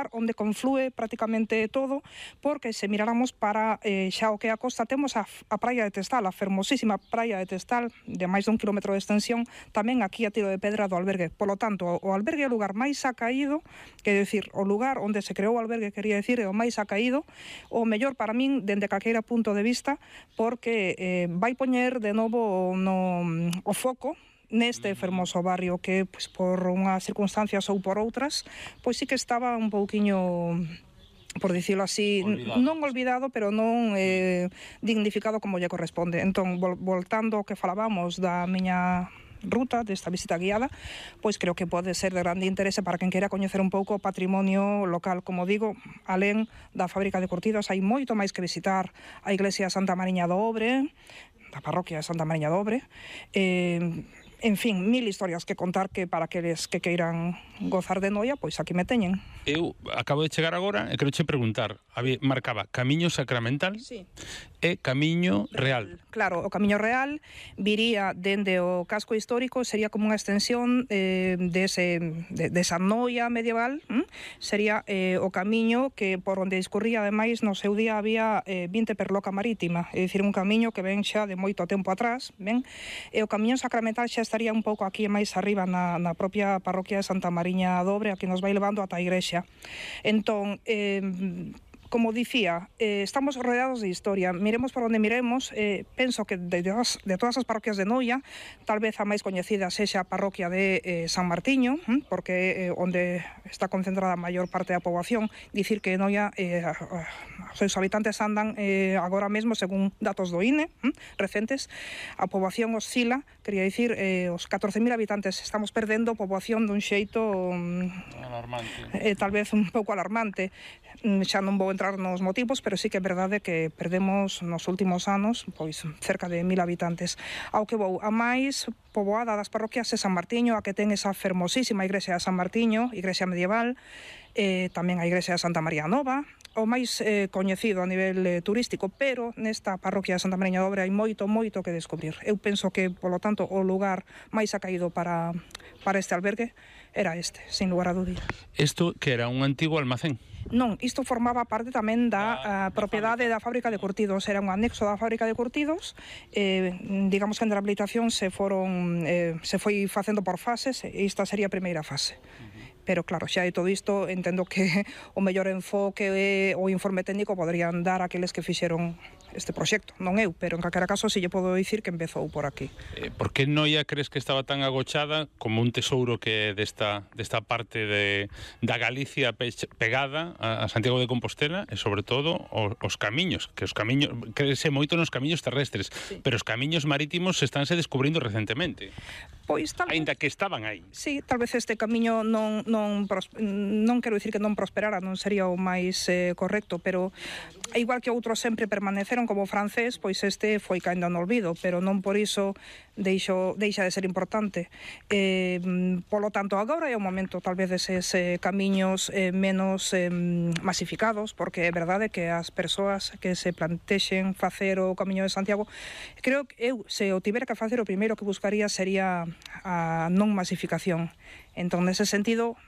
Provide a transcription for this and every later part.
lugar onde conflúe prácticamente todo, porque se miráramos para xa o que é a costa, temos a praia de Testal, a fermosísima praia de Testal, de máis de 1 kilómetro de extensión, tamén aquí a tiro de pedra do albergue. Polo tanto, o albergue é o lugar máis acaído, que decir, o lugar onde se creou o albergue, quería decir, é o máis acaído, o mellor para min, dende calqueira punto de vista, porque vai poñer de novo o foco neste fermoso barrio que, pois, por unhas circunstancias ou por outras, pois sí que estaba un pouquiño, por dicilo así, non olvidado, pero non dignificado como lle corresponde. Entón, voltando ao que falábamos da miña ruta, desta visita guiada, pois creo que pode ser de grande interese para quen queira coñecer un pouco o patrimonio local. Como digo, alén da fábrica de curtidos, hai moito máis que visitar: a iglesia de Santa Mariña do Obre, da parroquia de Santa Mariña do Obre, en fin, 1000 historias que contar, que para aqueles que queiran gozar de noia, pois aquí me teñen. Eu acabo de chegar agora e quero che preguntar, marcaba Camiño Sacramental e Camiño Real. Claro, o Camiño Real viría dende o casco histórico, sería como unha extensión desa noia medieval, sería o camiño que por onde discurría, ademais, no seu día había 20 perloca marítima, é dicir, un camiño que ven xa de moito tempo atrás, ben? E o Camiño Sacramental xa estaría un pouco aquí máis arriba na propia parroquia de Santa Mariña do Obre, a que nos vai levando ata a igrexa. Entón, como dicía, estamos rodeados de historia. Miremos por onde miremos, penso que de todas as parroquias de Noia, tal vez a máis coñecida sexa a parroquia de San Martiño, porque onde está concentrada a maior parte da poboación. Dicir que Noia, os seus habitantes andan agora mesmo, según datos do INE recentes, a poboación oscila, quería dicir, os 14.000 habitantes. Estamos perdendo poboación dun xeito alarmante, tal vez un pouco alarmante. Xa non vou entrar nos motivos, pero sí que é verdade que perdemos nos últimos anos pois cerca de 1000 habitantes. Ao que vou, a máis poboada das parroquias é San Martiño, a que ten esa fermosísima igrexa de San Martiño, igrexa medieval, tamén a igrexa de Santa María Nova, o máis coñecido a nivel turístico, pero nesta parroquia de Santa Mariña do Obre hai moito que descubrir. Eu penso que, polo tanto, o lugar máis acaído para este albergue era este, sin lugar a dúbida. Isto que era un antigo almacén? Non, isto formaba parte tamén da propiedade da fábrica de curtidos, era un anexo da fábrica de curtidos, digamos que en rehabilitación se foi facendo por fases, e esta sería a primeira fase. Pero claro, xa de todo isto entendo que o mellor enfoque o informe técnico poderían dar aqueles que fixeron este proxecto, non eu, pero en calquera caso si lle podo dicir que empezou por aquí. Por que Noia crees que estaba tan agochada como un tesouro que desta parte da Galicia pegada a Santiago de Compostela, e sobre todo os camiños, que os camiños, crese moito nos camiños terrestres, sí, pero os camiños marítimos estánse descubrindo recentemente. Pois tal vez, aínda que estaban aí. Sí, tal vez este camiño non quero dicir que non prosperara, non sería o máis correcto, pero igual que outros sempre permaneceron, como o francés, pois este foi caendo no olvido, pero non por iso deixa de ser importante. Polo tanto, agora é o momento tal vez deses camiños menos masificados, porque é verdade que as persoas que se plantexen facer o Camiño de Santiago, creo que eu, se o tivera que facer, o primeiro que buscaría sería a non masificación. Entón, nese sentido,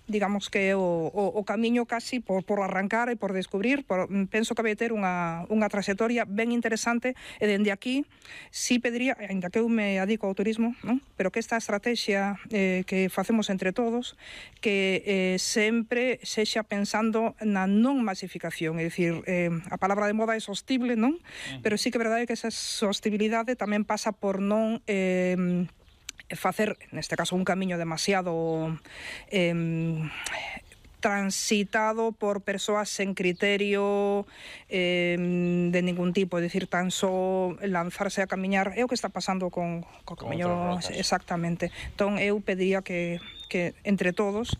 digamos que o camiño casi por arrancar e por descubrir, penso que vai ter unha traxectoria ben interesante, e dende aquí si pediría, ainda que eu me adico ao turismo, non? Pero que esta estrategia que facemos entre todos, que sempre sexa pensando na non masificación, é dicir, a palabra de moda é sostible, non? Pero sí que é verdade que esa sostibilidade tamén pasa por non facer, neste caso, un camiño demasiado transitado por persoas sen criterio de ningún tipo, é dicir, tan só lanzarse a camiñar. É o que está pasando con camiño, exactamente. Entón, eu pediría que entre todos,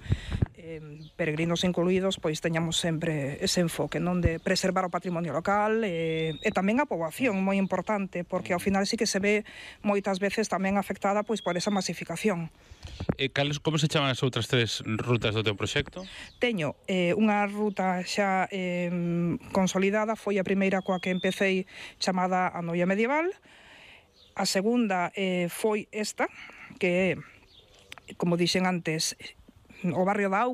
peregrinos incluídos, pois teñamos sempre ese enfoque, non, de preservar o patrimonio local e tamén a poboación, moi importante, porque ao final sí que se ve moitas veces tamén afectada pois por esa masificación. Como se chaman as outras 3 rutas do teu proxecto? Teño unha ruta xa consolidada, foi a primeira coa que empecé, chamada a Noia Medieval. A segunda foi esta, que é, como dixen antes, o barrio da Auga,